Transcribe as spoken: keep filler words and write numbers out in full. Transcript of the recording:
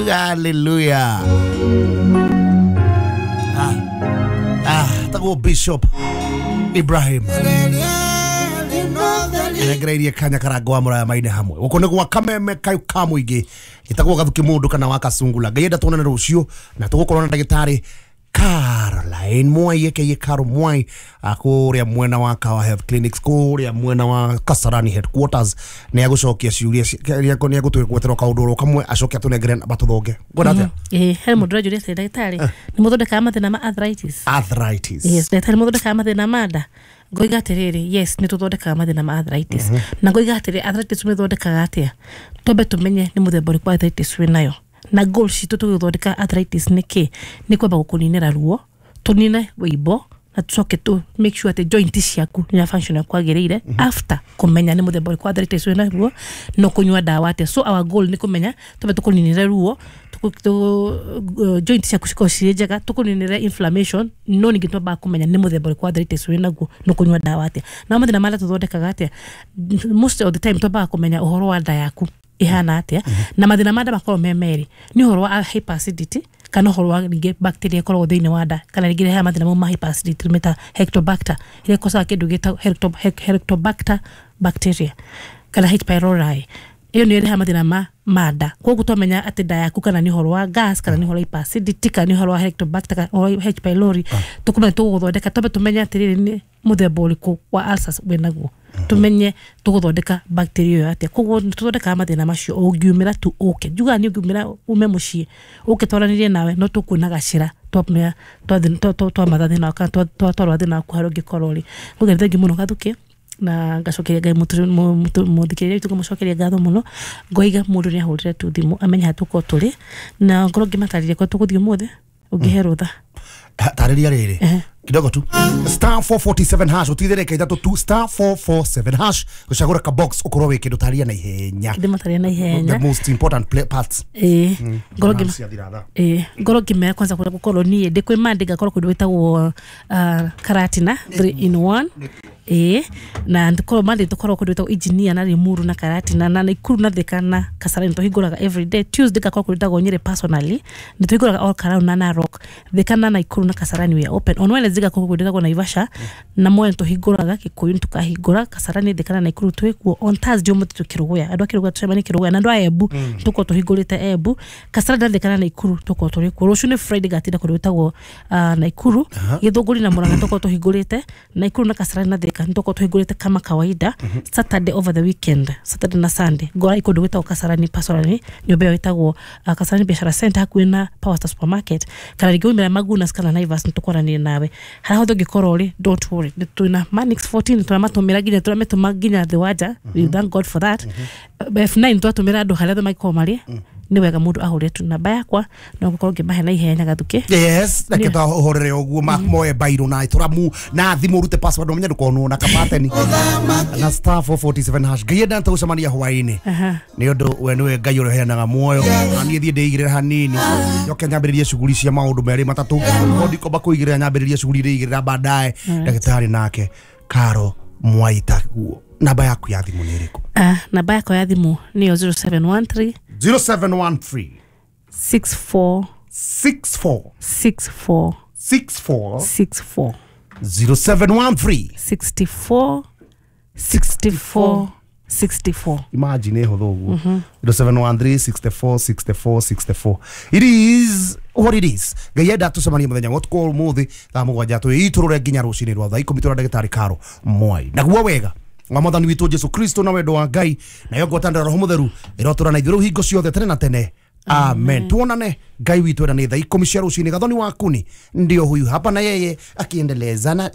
Hallelujah. Ah, ah, tagwo Bishop Ibrahim ngereirie kanya karango wa muraya maine hamwe guko nĩ gwa kameme kayu ka mũingĩ gĩtagwo gathuki mũndũ kana wa kacungula. Ngai enda tuonane rũciũ na tũgũkorwo na ndagĩtarĩ Caroline Mwai aka Caro Mwai kũrĩa mwena wa Kawa Health Clinics kũrĩa mwena wa Kasarani headquarters nĩ agũcokia ciũria nĩ agũtwĩgweterwo kaũndũ oro kamwe acoke atũnengere namba tũthonge. Ngwenda atĩa? Ĩĩ, he mũndũ ũranjũria atĩrĩ, ndagĩtarĩ nĩ mũthondekaga mathĩna ma arthritis? Arthritis. Yes, ndagĩtarĩ nĩ mũthondekaga mathĩna ma nda? Ngoiga atĩrĩrĩ, yes, nĩ tũthondekaga mathĩna ma arthritis. Na ngoiga atĩrĩ, arthritis ũmĩthondekaga atĩa? Twambe tũmenye nĩ mũthemba ũrĩkũ wa arthritis wĩnayo. Na goal citũ tũgĩthondeka arthritis nĩ kĩ? Nĩ kwamba gũkũninĩra ruo, tũnine wĩimbo, na tũcoke tũ make sure atĩ joint ciaku nĩ function kwagĩrĩire after kũmenya nĩ mũthemba ũrĩkũ wa arthritis wĩna ruo no kũnyua ndawa atĩa. So our goal nĩ kũmenya twambe tũkũninĩre ruo, joint ciaku cikorwo cirĩ njega, tũkũninĩre inflammation, no ningĩ twambaga kũmenya nĩ mũthemba ũrĩkũ wa arthritis wĩ naguo no kũnyua ndawa atĩa. Na mathĩna marĩa tũthondekaga atĩa? Most of the time twambaga kũmenya ũhoro wa nda yaku ihana atia, na mathĩna ma nda makorwo me merĩ, nĩ ũhoro wa hyperacidity kana ũhoro wa rĩngĩ bacteria ĩkoragwo thĩinĩ wa nda, kana rĩngĩ rehaga mathĩna mau ma hyperacidity meta Helicobacter ĩrĩa ĩkosaga kĩndũ gĩtagwo Helicobacter bacteria kana H pylori. Ĩyo nĩyo ĩrehaga mathĩna ma ma nda. Koguo twamenya atĩ nda yaku kana nĩ ũhoro wa gas kana nĩ ũhoro wa hyperacidity kana nĩ ũhoro wa Helicobacter kana ũhoro wa H pylori, tũkũmenya tũgũgũthondeka twambe tũmenye atĩrĩrĩ nĩ mũthemba ũrĩkũ wa ulcers wĩnaguo, tumenye tũgũthondeka bacteria ĩyo atĩa. Koguo nĩ tũthondekaga mathĩna macio, ũngiumĩra tu ũke, njugaga nĩ ũngiumĩra ume mũciĩ ũke twaranĩrie nawe no tũkuona gacĩra twamenya twamatha thĩna kana twatwarwo thĩna waku harĩa ũngĩkorwo ũrĩ. Koguo nĩ thengiũ mũno Gathukĩ, na ngacokeria Ngai mũthikĩrĩria witũ ngamũcokeria ngatho mũno. Ngoiga mũndũ nĩ ahũrĩre tu thimũ amenye harĩa tũkorwo tũrĩ, na ngorwo ngĩmatarĩria kũrĩa tũgũthiĩ ũmũthĩ ũngĩhe rũtha. Tarĩria rĩrĩ kidogo tu star four forty-seven hash utithire ithatu tu star four four seven hash gucagura ka box ukorwo wi kindu taria na ihenya ndimataria na ihenya the most important play parts eh ngoro ngima eh ngoro ngima kwanza kuria gukorwo nie ndi kwi mandi ngakorwo kundu witagwo Karatina three in one eh na ndikorwo mandi tukorwo kundu witagwo engineer na Limuru na Karatina na Nakuru na Thika na Kasarani tuhinguraga every day. Tuesday ngakorwo kundu witagwo Nyeri personally ni tuhinguraga all Karau na Narok. Thika na Nakuru na Kasarani we are open on Wednesday ngakorwo kundu witagwo Naivasha na Mwea tuhinguraga Kikuyu tukahingura Kasarani Thika na Nakuru twikuo on Thursday umuthi tukiruguya andu a Kiruguya tucemanie Kiruguya na andu a Embu tukorwo tuhingurite Embu Kasarani na Thika na Nakuru tukorwo turi kuo. Rucio ni Friday ngatinda kundu witagwo Nakuru Githunguri na Murang'a tukorwo tuhingurite Nakuru na Kasarani na Thika tukorwo tuhingurite kama kawaida. Saturday over the weekend, Saturday na Sunday ngora ikundu gwitagwo Kasarani personally nyumba ĩyo ĩtagwo Kasarani Biashara Center hakuhĩ na Power Star Supermarket kana rĩngĩ umĩra Magunas kana Naivas nĩtũkwaranĩria nawe harĩa hothe ũngĩkorwo ũrĩ. Don't worry, twĩna Manix fourteen tũramatũmĩra nginya tũrametũma nginya thĩ wa nja. We thank God for that. F nine twatũmĩra andũ harĩa othe mangĩkorwo marĩ. Nĩ wega mũndũ ahũre tu namba yakwa no gũkorwo ngĩmahe na ihenya Gathuki. Yes, reke tũhũrĩre ũguo moe bairũ na tũramu na thimũ ũrute password ũmenye ndũkonwo na kapateni na star four forty-seven hash. Ngai enda tũgũcemania hwaĩ-inĩ nĩ ũndũ we nĩwe Ngai ũrĩa ũheanaga muoyo na niĩ thiĩ ndĩigĩrĩre hanini njoke nyambĩrĩrie shughuli cia maũndũ merĩ matatũ no ndikomba kũigĩrĩra nyambĩrĩrie shughuli ndĩigĩrĩra baadaye. Ndagĩtarĩ nake Caro Mwai taguo. Namba yaku ya thimũ nĩ ĩrĩkũ? Ah, namba yakwa ya thimũ nĩyo zero seven one three zero seven one three six four six four six four six four six four zero seven one three sixty-four sixty-four sixty-four. Imagine hũthũ ũguo zero seven one three sixty-four sixty-four sixty-four. It is what it is. Ngai enda tũcemanie mũthenya wa ũtukũ ũmũthĩ thaa mũgwanja twĩitũrũre nginya rũcinĩ rwa thaa ikũmi tũra ndagĩtarĩ Caro Mwai. Naguo wega wa mwathani witũ Jesu Kristo na wendo wa Ngai nayo ngwatanĩro Roho Mũtheru ĩrotũra na ithuĩ rĩu hingo ciothe tene na tene. Amen. Tuonane Ngai witũ enda nĩ thaa ikũmi cia rũcinĩ. Gathoni wakuni ndio huyu hapa na yeye akiendelezana.